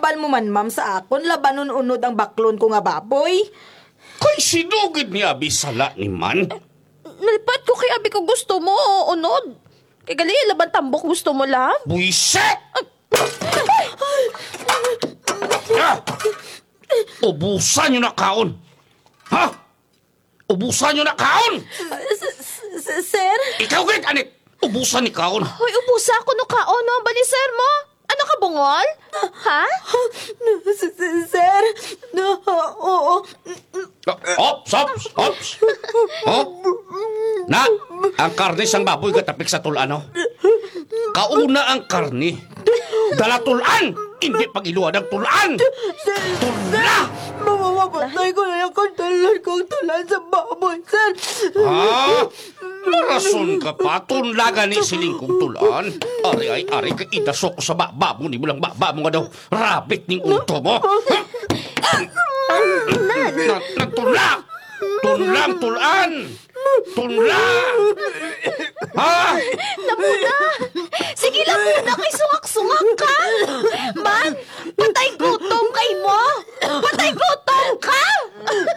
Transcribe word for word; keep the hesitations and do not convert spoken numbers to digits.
Ipal mo man, ma'am, sa akon, labanon unod ang baklon ko nga baboy. Kay sin-o gid ni abi sala ni man? Nalipat ko kay abi ko gusto mo unod. Kay gali, laban tambok gusto mo, love. Buwisit! Ah! Ubusa ninyo na kaon. Ha? Ubusa ninyo na kaon! S-, s-, s-, sir? Ikaw gid, Anit! Ubusa ni kaon! Hoy, ubusa kuno kaon, no? Bali, sir mo? Ano ka, bungol? Ha? S-, s-, sir? No, oo. Ops, ops, ops! Oh? Na, ang karne sang baboy gatapik sa tul-an, no? Kauna ang karne. Dala tul-an! Indi pag-iluwad ang tul-an! Tul-an! Mapapatay ko na lang kang tanan kang tul-an sa baboy, sir. Ha? Marason ka pa, tunla gani siling kong tul-an. Ari ay, ari kay idasok ko sa baba mo, nimo lang baba mo nga daw rabbit ning unto mo. Ha? Na, na, tunla! Tunla ang tul-an! Tunla! Ha? Napuna! Sige lang, puna kay sungak-sungak ka! Man, patay gutom